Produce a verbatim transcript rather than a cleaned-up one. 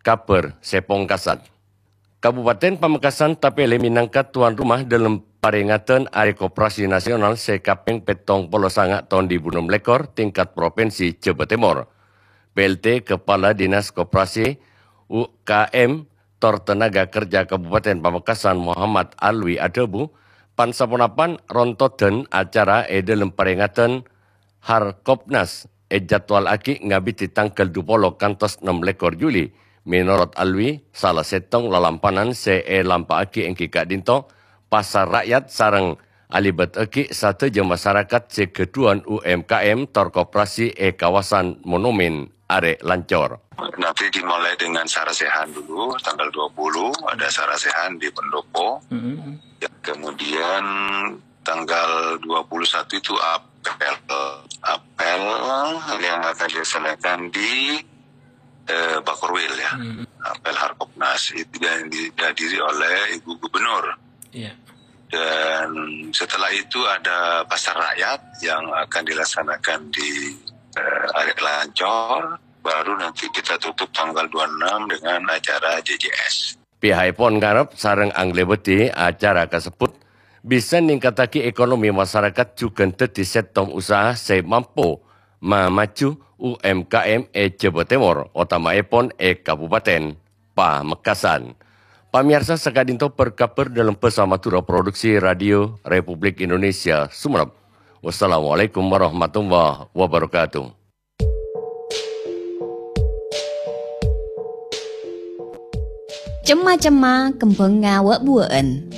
Kabhâr sè pongkasan. Kabupaten Pamekasan tapèlè mènangka tuan rumah dâlem parèngadan Arè Koperasi Nasional sè kapèng pèttong polo sanga taon dhu èbu ennem lèkor tingkat provinsi Jhâbâ Tèmor. P L T Kepala Dinas Koperasi, U K M, tor Tenaga Kerja Kabupaten Pamekasan Muhammad Alwi adhâbu, pan-saponapan rontodan acara è dâlem parèngadan Harkopnas èjadwalaghi ngabidhi tangghâl dhu polo kantos ennem lèkor Juli. Mènorot Alwi, sala sèttong lalampanan sè èlampa'aghi èngghi ka'dinto pasar rakyat sareng alèbâtaghi sadhâjâ masarakat sè ghâdhuwân U M K M tor koperasi è kawasan Monumèn Arè Lancor. Nanti dimulai dengan sarasehan dulu, tanggal dua puluh ada sarasehan di Pendopo. Ya, kemudian tanggal dua puluh satu itu apel. Apel yang akan dilaksanakan di eh, Bakorwil, ya. Apel Harkopnas itu yang dihadiri oleh Ibu Gubernur. Iya. Dan setelah itu ada pasar rakyat yang akan dilaksanakan di eh, Arè Lancor. Baru nanti kita tutup tanggal dua puluh enam dengan acara J J S. Pihakèpon ngarep sareng anglèbâdhi acara kasebbhut bisa ningkattaghi ekonomi masarakat jhughân dhâddhi sèttong usaha sè mampo mamaju U M K M è Jhâbâ Tèmor, otama'èpon è Kabupaten Pamekasan. Pamèyarsa, saka'dinto bâr-kabhâr dâlem bhâsa Madhurâ, produksi Radio Republik Indonesia Sumenep. Wassalamualaikum warahmatullahi wabarakatuh. Cemma-cemma kembhângnga wâ'-buwâ'ân.